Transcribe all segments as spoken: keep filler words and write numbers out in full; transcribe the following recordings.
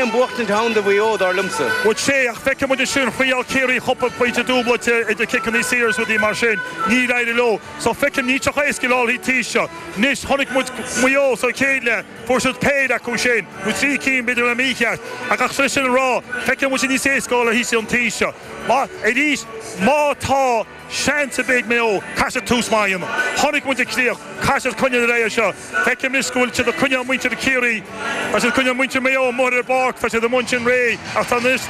aon bhuachtaint ann do Mhaigh Eo, dar liomsa. Bhuel sea, ach feicfidh muid ansin, thriail Ciarraí cúpla pointe dúbailte idir ciceanna saora is rudaí mar sin, níor éirigh leo. So feicim, níl sé chomh héasca le an taobh seo. Anois, chonaic muid Maigh Eo sa chéad leath, fuair siad péire acu sin, nó trí cinn b'fhéidir le mícheart. Ach ach sé sin a rá, feicim muid níos éasca le thíos an taobh seo. Má, arís, má tá seans ar bith ag Maigh Eo, caithfidh siad tús maith a dhéanamh. Chonaic muid an chríoch, caithfidh siad coinneáil ar aghaidh seo. Feicim anois go bhfuil siad ag coinneáil muintir Chiarraí, tá siad ag coinneáil muintir Mhaigh Eo amuigh ar an bpáirc, tá siad amuigh ansin réidh, ach tá anois,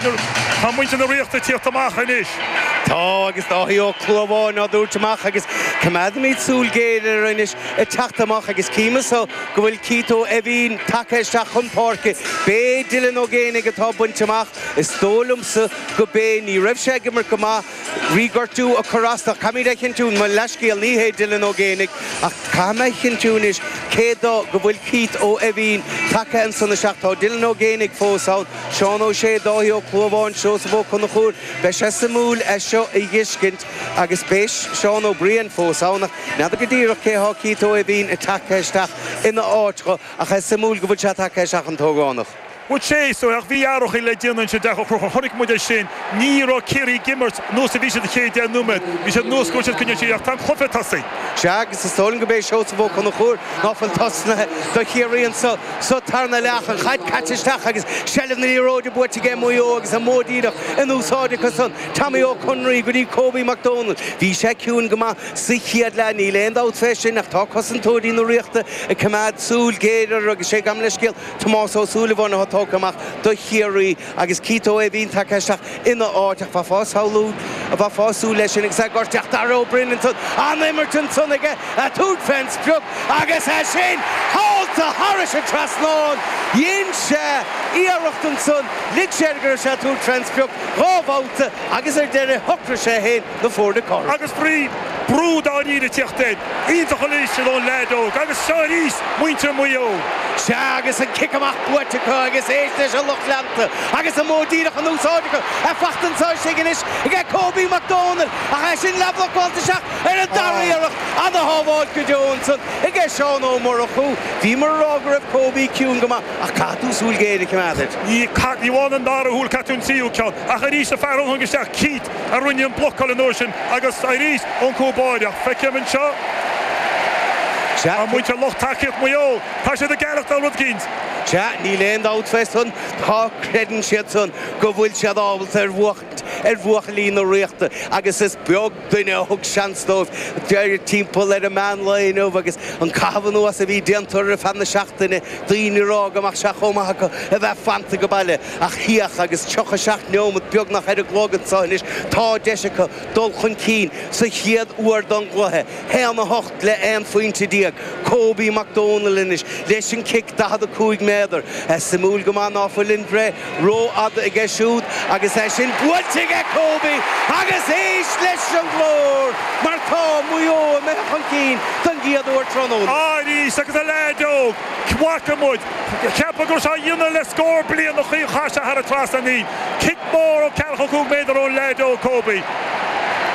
tá muintir na Ríochta ag tíocht amach anois. Tá, agus Dáithí Ó Clúmháin á dtabhairt amach agus coimeádaimid súil ghéar air anois ag teacht amach agus cím anso go bhfuil Keith Ó Eimhín tagtha isteach chun páirce. B'é Dylan Ó Géibheannaigh atá bainte amach. Is dóigh liomsa go b'é, ní raibh sé ag imirt go maith, bhí gortú ag cur as dó. Caithfimid a chinntiú, mo leithscéal, ní hé Dylan Ó Géibheannaigh ach caithfidh mé a chinntiú anois cé dó go bhfuil Keith Ó Eimhín tagtha ansan isteach. Tá Dylan Ó Géibheannaigh fós ann, Seán Ó Sé, Dáithí Ó Clúmháin, Seosamh Ó Conchúir. Beidh sé suimiúil é seo a fheiscint agus beidh Seán Ó Briain fós ann ach n'fheadar go díreach cé há Keith Ó Eimhín ag tagtha isteach ina áit dho ach is suimiúil go bhfuil sé tagtha isteach an t-ógánach. Bhuel sea, so ach bhí athruithe le déanamh ansin deacair cruthú. Chonaic muid é sin. Ní raibh Ciarraí ag imirt nós a bhí siad an chéad deich nóiméad. Bhí siad nós go bhfuil siad coinneáil siar ach tá an cluiche tosaithe. Sea, agus is dóigh liom go b'é Seosamh Ó Conchúir ná fuil tosnaithe do Chiarraí anso sa tarna leath, an chaid caite isteach agus seilbh na liathróide buaite aige Maigh Eo agus an modh díreach in úsáid acu san. Tommy Ó Conraoi go dtí Kobe Mac Dónaill. Bhí sé ciúin go maith sa chéad leath, níl aon dabht fé sin ach tá cosantóirí na Ríochta ag coimeád súil ghéar air agus sé gabh mo leithscéal Tomás Ó Súilleabháin atá tógtha amach do Chiarraí agus Keith Ó Eimhín tagtha isteach ina áit ach bheifeá ag samhlú bheifeá ag súil leis sin agus é gortaithe Dara Ó Broin ansan an-imirt ansan aige ag tabhairt fén sprioc agus é sin seolta thairis an trasnán. Dhein sé iarracht ansan, lig sé air go raibh sé ag tabhairt fén sprioc dhá bhabhta agus ar deireadh shocraigh sé féin na foirne cothrom. Agus bhí brú dáiríre ag tíocht air. Iontach arís ón leaid óg agus seo arís muintir Mhaigh Eo. Sea, agus an cic amach buaite acu agus éist leis an lucht leanta agus an modh díreach in úsáid acu. É faighte anso istigh anois aige Kobe Mac Dónaill ach é sin leathbhlocáilte isteach ar an dara iarracht. Ana-shábháilt go deo ansan aige Seán Ó Murchú. Bhíomar ag rá go raibh Kobe ciúin go maith ach caithfidh tú súil ghéar a choimeád air. Ní ní amháin an dara shúil, caithfidh tú an tríú ceann. Ach arís an fear a tháinig isteach, Keith, a rinne an blocáil an uair sin agus arís ón cúl báire. Feicim anseo Sea, tá muintir lucht tacaíocht Mhaigh Eo. Tá siad ag gealachtáil rud éicint. Sea, níl aon dabht fé san, tá creideann siad san go bhfuil siad ábalta ar bhuachaint ar bhuachaillí na Ríochta agus is beag duine a thug seans dóibh timpeall ar an meán lae inniu agus an caitheamh anuas a bhí déanta ar feadh na seachtaine, daoine ag rá go mbeadh sé chomh maith acu a bheith fanta go baile ach féach agus tríocha seacht neomat beagnach ar an gclog anseo anois, tá deis acu dul chun cinn sa chéad uair don gcluiche. Haon a hocht le aon phointe déag. Kobe Mac Dónaill anois leis an cic daichead a cúig méadar. Suimiúil go maith ná fuil an bhreith rófhada aige siúd agus é sin buailte aige Kobe agus éist leis an nglór mar tá Maigh Eo imithe chun cinn don gcéad uair tráthnóna. Arís agus an leaid óg, chonaic muid, ceapadh go raibh sé á dhéanamh le scór bliain a chaith sé thar an trasnán í. Cic mór ó ceathracha cúig méadar ón leaid óg Kobe.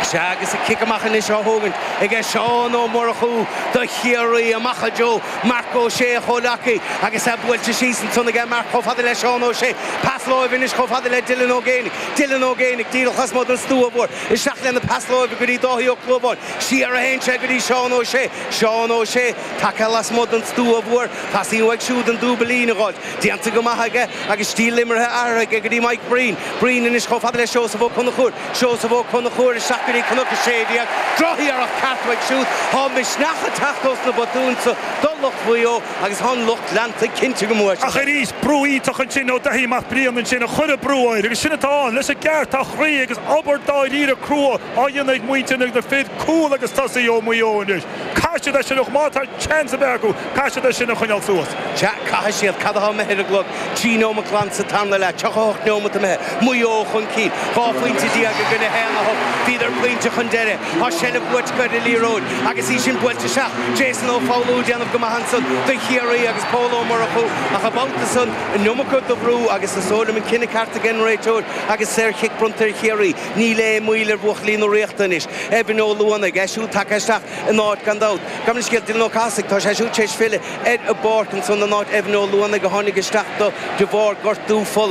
Sea, agus an cic amach anois á thógaint aige Seán Ó Murchú do Chiarraí amach i dtreo Marc Ó Sé, a chomhleacaí, agus é buailte síos ansan aige Marc chomh fada le Seán Ó Sé. Pas láimhe anois chomh fada le Dylan Ó Géibheannaigh. Dylan Ó Géibheannaigh díreach lasmuigh den stua mhór. Isteach lena pas láimhe go dtí Dáithí Ó Clúmháin. Siar a théann sé go dtí Seán Ó Sé. Seán Ó Sé tagtha lasmuigh den stua mhór. Teastaíonn uaidh siúd an dúbailín a dh'fháilt. Déanta go maith aige agus stíl imeartha athraithe aige go dtí Mike Breen. Breen anois chomh fada le Seosamh Ó Conchúir. Seosamh Ó Conchúir isteach go dtí Cnoc a sé déag. Drochiarracht ceart uaidh siúd. Tá misneach ag teacht ós na botúin so do lucht Mhaigh Eo agus tá an lucht leanta cinnte go mbuafaidh Ach siad. arís, brú iontach ansin ó Daithí Mac Briain ansin a chuir an brú air agus sin atá ann leis an gceart, tá croí agus obair dáiríre crua á dhéanamh ag muintir na fir cúl agus tosaí ó Mhaigh Eo anois. Caithfidh siad é sin a má tá seans ar bith acu, caithfidh siad é sin a choinneáil suas. Sea, caithfidh siad. Cad atá imithe ar an gclog? Trí nóimeat glan sa tarna leath, tríocha a hocht nóimeat imithe. Maigh Eo chun cinn, dhá phointe déag i gcoinne haon a hocht. Bhíodar pointe chun deiridh. Tá seilbh buaite acu ar an liathróid agus í sin buailte isteach. Jason Ó Foghlú ag déanamh go maith ansan do Chiarraí agus Pól Ó Murchú ach an babhta san an iomarca de bhrú agus is dóigh liom an cinneadh ceart ag an réiteoir agus saorchic bronnta ar Chiarraí. Níl aon mhoill ar bhuachaillí na Ríochta anois. Evan Ó Luanaigh, é siúd tagtha isteach in áit gan dabht. Gabh mo leithscéal, Dylan Ó Cathasaigh, tá sé siúd tar éis filleadh ar an bpáirc ansan in áit Evan Ó Luanaigh a tháinig isteach do de bharr gortú fola.